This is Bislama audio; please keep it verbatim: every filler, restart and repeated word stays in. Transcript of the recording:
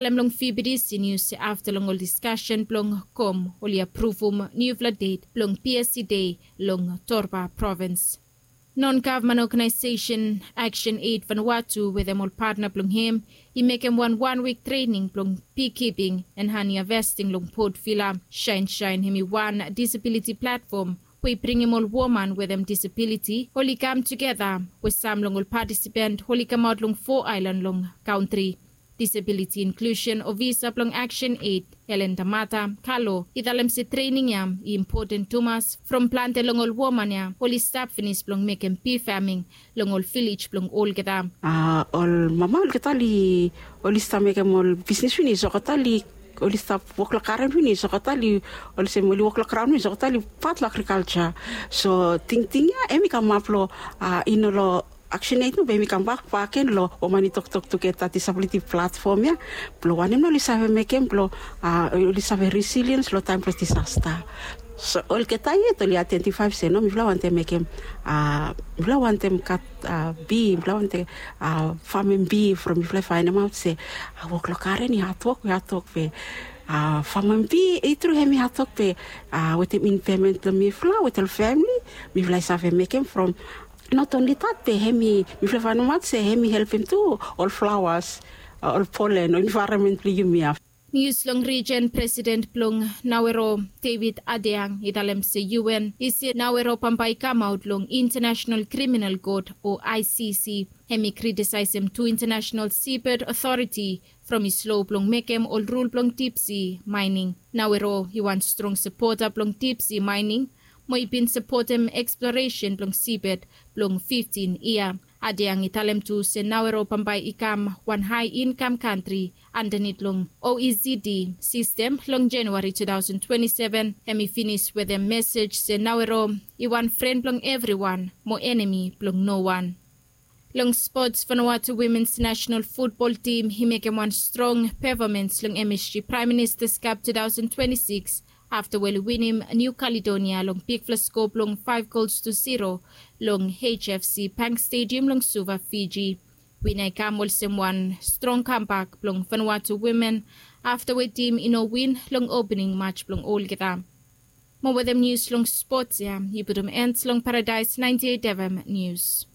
Talem long fibidis i nius se afta long ol diskasen blong kom oli apruvum niufala det blong psc dei long torba provins. Non gavman oganaisesen aksen eid vanwatu wetem ol patna blong hem i mekem wan wan wik trening blong bikiping en hani havesting long potvila. Saensaen hem i wan disabiliti platfom we i bringim ol woman wetem disabiliti oli kam tugeta we sam long ol patisipant oli kamaot long fo aelan long kantri. Disabiliti inklusen ofisa blong aksen eid helen tamata kalo i talem se trening ya i impoten tumas from plante long ol woman ya oli stap finis blong mekem bifaming long ol vilej blong olgeta. Ol mama olgeta oli stap mekem ol bisnis finis olgeta oli stap wok long garen finis olgeta oli olsem oli wok long graon finis olgeta oli pat long agrikalja. So tingting ya em i kamap long i no long aksen eid no be em i kambak baken long woman i toktok tugeta disabiliti platfom ya blong wanem na oli save mekem blong oli save resiliens long taem blong disasta. So olgeta yet oli aidentifae se no mifala wantem mekem mifala wantem gat bi mifala wantem famem bi from mifala i faenemaot se wok long garen i hatwok i hatwok be famem bi i tru hem i hatwok be wetem inpemen blong mifala wetem ol famili mifala i save mekem from not onli dat be hem i mifala i faenemaot se hem i helpem tu ol flawas ol polen ol envaeronmen blong yumi ya. Nius long rijen president blong nawero david adeang i talem se un i se nawero bambae i kamaot long intanasenal kriminal kot o icc. Hem i kritisaesem tu intanasenal sibed otoriti from i slo blong mekem ol rul blong dipsi maening. Nawero i wan strong sapota blong dipsi maening mo i bin sapotem eksploresen blong sibed blong fiftin yia. Adeang i talem tu se nawero bambae i kam wan hae inkam kantri andanit long oecd sistem long januari tu taosen twenti seven. Hem i finis wetem mesej se nawero i wan fren blong evriwan mo enemi blong no wan. Long spots vanawatu wimens nasenal futbol tim i mekem wan strong pefomens long msg praem ministas kap tu taosen twenti siks afta we oli winim niu kaledonia long bigfala sko blong faef gols tu ziro long hfc bank stediam long suva fiji. Wina i kam olsem wan strong kambak blong vanawatu wimen afta we tim i no win long opening mats blong olgeta. Mo wetem nius long spots ya i putum en long paradaes naenti eit fm nius.